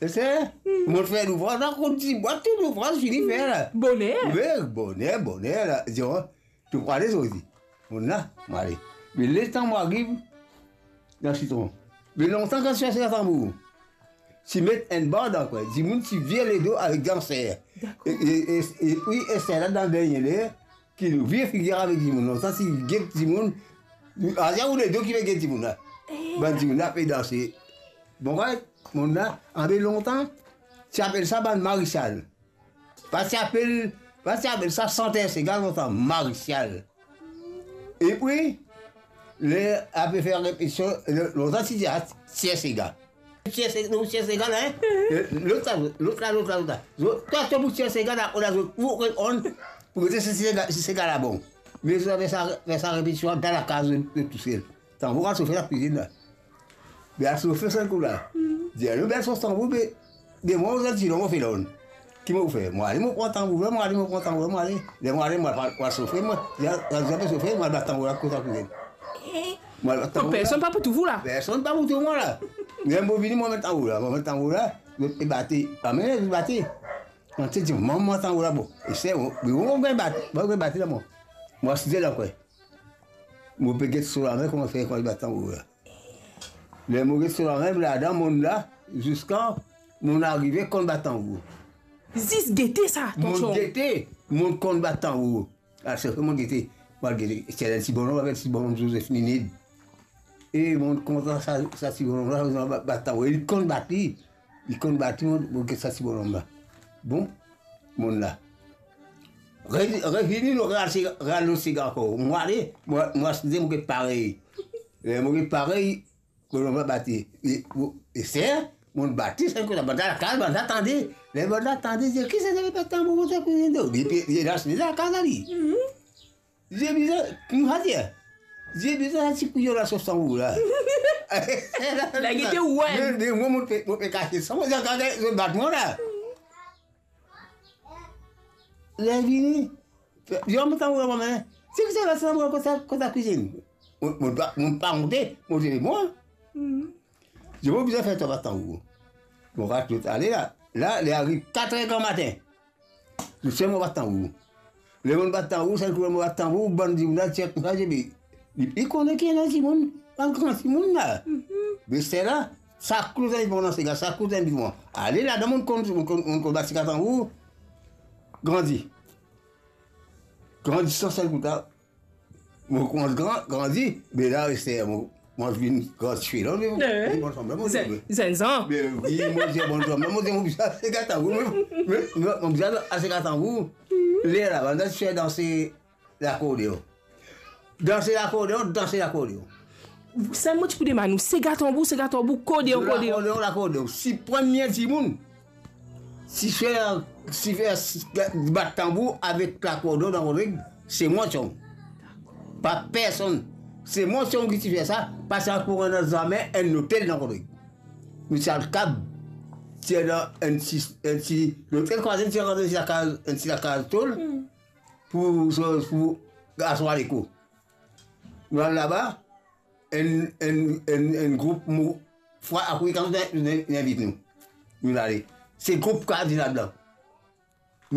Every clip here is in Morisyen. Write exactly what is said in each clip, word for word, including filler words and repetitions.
Ese, mo fer louvraz la, kot dibwa, tou louvraz fini fer la. Boner. Wi, boner, boner la. Di, o, to pou ale, zot di. Mo la, mo ale. Me letan mo ariv dan sitron, me lontan kan ti fer sega tanbour, ti met enn band ankor, dimoun ti vir ledo avek danser. Dakor. E, e, e, epi Ester la dan dernie ler, ki nou vir figir avek dimoun. Lontan ti get dimoun, aster ou ledo ki pe get dimoun la. Eh. Bann dimoun la pe danse. Bon, right? Monn la, anbe lontan, ti apel sa bann maresal. Pa ti apel, pa ti apel sa santer sega lontan, maresal. Epi, ler ape fer repetision, lontan ti dir, a, tir sega. Tir sega, nou tir sega la, en? Lot la, lot la, lot la, lot la. Zot, twa, to pou tir sega la, ou la, zot, ou, on, pou gete si sega, si sega la bon. Me zot ave fer sa, fer sa repetision dan lakaz, zot, zot tousel. Tanbour al sofe lakwizinn la. Be al sofe sel kou la. Dir nou, be al sof tanbour, be, de mwa, ou zot ti lor mo felon. Ki mo fer? Mo ale, mo pran tanbour la, mo ale, mo pran tanbour la, mo ale. Ler mo ale, mo al, mo al sofe, mo, dir, dir, dir, sofe, mo al bat tanbour la kot lakwizinn. Eh. Mo al bat tanbour la. Personn pa pou trouv ou la. Personn pa pou trouv mwa la. Ler mo vini, mo met tanbour la, mo met tanbour la, mo pe bate. Pa mem bate. Kan ti dir, mama, tanbour la bon. E se, mo, mo, mo gagn bat, mo gagn bate la, mo. Mo asite la, kwe. Mo pe get so lame, kouma fer, kouma li bat tanbour la. Ler mo get so lame, ladan monn la, ziska monn arive konn bat tanbour. Zis gete sa, tonton. Monn gete, monn konn bat tanbour. Al sofe, monn gete, monn gete, ti ena enn ti bonom, apel ti bonom Zozef Nined. E monn kontan sa, sa ti bonom la, bat, bat tanbour. E li konn bat li. Li konn bat li, monn, monn get sa ti bonom la. Bon, monn la. Re-, revini, nou re-al se-, re-al lot sega ankor. Mo ale, mo, mo asite, mo get parey. Ler mo get parey, bonom la bate. E, e ser, monn bate, sa kot la, bann lakaz, bann la tande. Ler bann la tande, dir, "Kisannla pe bat tanbour koumsa, koumsa?" Li pe, li las li lakaz ali. Li bizin, kouma dir? Li bizin sa ti kouyon la sof tanbour la. La gete, wi. Me, me mwa, mo pe, mo pe kasiet sa, mo dir, "Gade, zot bat mwa la." Ler vini, dir, "Mo tanbour la, mo mem." Ti ki sa la, sa mo kot, kot lakwizinn. Mo, mo pa, mo pa onte, mo dir, "Mwa." Dir, "Mo bizin fer twa bat tanbour." Mo ras lot ale la. La, li ariv kater gramatin. Zis mo bat tanbour. Ler monn bat tanbour, sa kou mo bat tanbour, bann dimoun la ti koumsa, dir, "Me, li, li kone ki ena dimoun, bann gran dimoun la." Me sela, sa kou zot inn pran dan sega, sa kou zot inn pran. Ale ladan, monn konn, monn konn, monn konn bat sega tanbour. Grandi. Grandi san sel kou ta. Mo koumans gran, grandi, me la, Ester, mo, mo vinn gran tifi la, me, eh, me bann fanm la, mo, zenn, zenn zan. Me wi, mo dir bann fanm la, mo dir, mo bizin sega tanbour, me, me, me, mo bizin sega tanbour. Ler la, bann la ti fer danse lakordeon. Danse lakordeon, danse lakordeon. Sa mo ti pou demann ou, sega tanbour, sega tanbour, kordeon, kordeon. Lakordeon, lakordeon. Si premie dimoun, si fer, si fer, bat tanbour avek lakordeon dan Rodrig, se mwa sel. Pa personn. Se mwa sel ki ti fer sa, paski ankor ena zame enn lotel dan Rodrig. Nou ti al kab, ti ena enn ti, enn ti, lotel, kwa, ti ena enn ti lakaz, enn ti lakaz tol, hmm, pou, pou aswar leko. Nou al laba, enn, enn, enn, enn group mo-, fwa akour kan zot in-, in-, invit nou. Nou ale. Se group Kardinal Blan.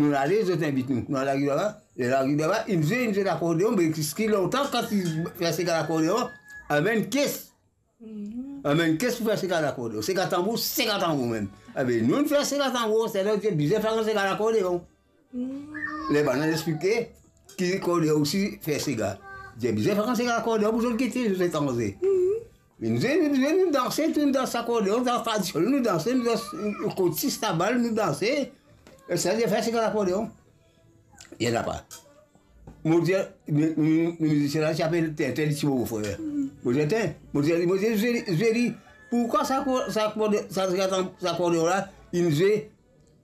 Nou ale, zot invit nou. Nou al ariv laba. Ler nou ariv laba, inn zwe, inn zwe lakordeon, me ki lontan kan ti fer sega lakordeon, amenn kes. Mhm. Amenn kes pou fer sega lakordeon. Sega tanbour, sega tanbour mem. Ebe, nou, nou fer sega tanbour, se la ti bizin fer sega lakordeon. Ler bann la explike ki kordeon osi fer sega. Dir bizin fer sega lakordeon pou zot gete, zot etranze. Me nou, nou, nou, nou danse, tou nou dans lakordeon, dans tradisionel, nou danse, nou dans, nou kot sis tabal, nou danse. E sa, dir fer sega lakordeon. Ena pa. Mo dir, nou, nou, nou, mizisie la, ti apel Tintin, li ti mo frer. Mo dir, Tintin, mo dir, mo dir, zwe li, zwe li, poukwa sa ko-, sa korde-, sa, sa, sa kordeon la, inn zwe,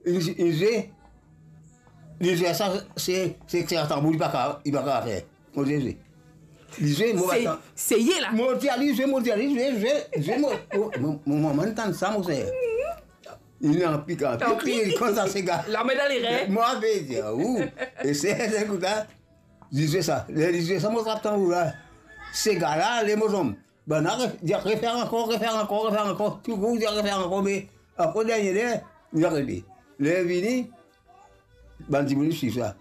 inn, inn zwe, li zwe sa, se, se, se tanbour, li pa ka, li pa ka fer. Mo dir, zwe. Li zwe, mo bat tan-, seye la. Mo dir, li zwe, mo dir, li zwe, zwe, zwe, mo, mo, mo, mo, mo, mo tann sa, mo ser. Li anpik, anpik, anpik. Li konn sa sega. Lame dan lerin. Mo pe dir ou. E se, se koumsa, li zwe sa. Ler li zwe sa, mo trap tanbour la. Sega la, le mo tonbe. Bann la re-, dir, refer ankor, refer ankor, refer ankor. Touzour dir, refer ankor, me Ankor dernie ler, li arete. Ler vini, bann dimoun swiv sa.